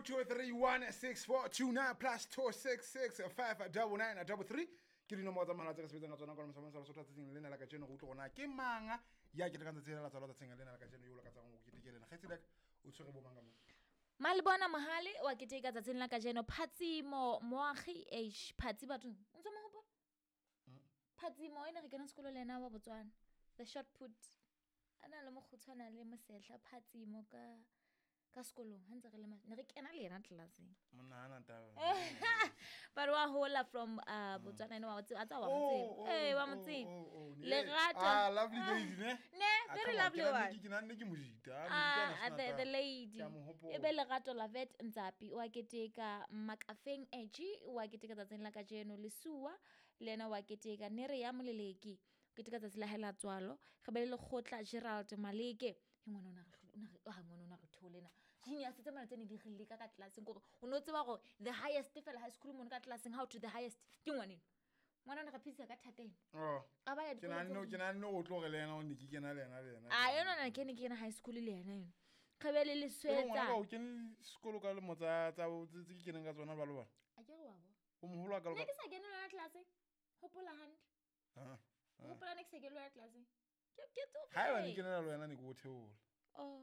223 16429 +266 599 33 ke dinomoro tsa mahala tse re sebetsang ka tsona kwana mosamong sa Lesotho tsatsing lena la kajeno. Re utlwe gona ke manga ya ketekang tsatsi lena la tsalo tsatsing lena la kajeno, yo o lakatsang go keteke lena. Kgaitsedi o tshwere bo mang ka mo? Malebona Mohale wa keteka tsatsing la kajeno. Phatsimo Moagi h Phatsi bathong, o ntse mo hopola Phatsimo e ne re kena sekolo le ena, wa Botswana, the short put, a na le mokgutshwana le mosetlha. Phatsimo ka sekolong ha ntse re le ne re kena le yena tlelaseng. Monna hana taba. But wa hola from Botswana ene wa tseba, a tsa wa mo tseba. Oh, ee, wa mo tseba. Lerato. Ah, lovely lady, ne? Ne. Ah, Very come on, lovely ke one. ke nahanne ke mojita. Ah, Ah, mojita the lady. Ke a mo hopola. E be Lerato Lavet Ntsapi wa keteka, Makafeng Egi wa keteka tsatsing la kajeno, Lesua le ena wa keteka, Nere ya Moleleki o keteka tsatsi la hae la tswalo. Re be le Lekgotla Gerald Maleke e ngwana o na re o na re ah, ngwana o na re theole na genius tse mona tse ne di re leka ka tlelaseng, kore o ne o tseba gore the highest fela high school mono ka tlelaseng, how to the highest ke ngwaneno. Ngwana o ne re phedisa ka thateng. Oh. A ba ya Ke dikolo nahanne ke nahanne o tlo re le yena o ne ke kena le yena le yena. A yona na ke ne ke kena high school le yena eno. Re be le Ke re ngwana Leswetsa. ka o kene sekolo ka lemo tsa tse ke keneng ka tsona jwalo bana. A ke re wa bo O moholo wa ka ne ke sa kene le yona tlelaseng, hopola hantle. Ah. Hopola, ne ke sa kene le yona tlelaseng, ke Ha eba ne tsofetse. ke na le wena, ne ke o theola. Oh.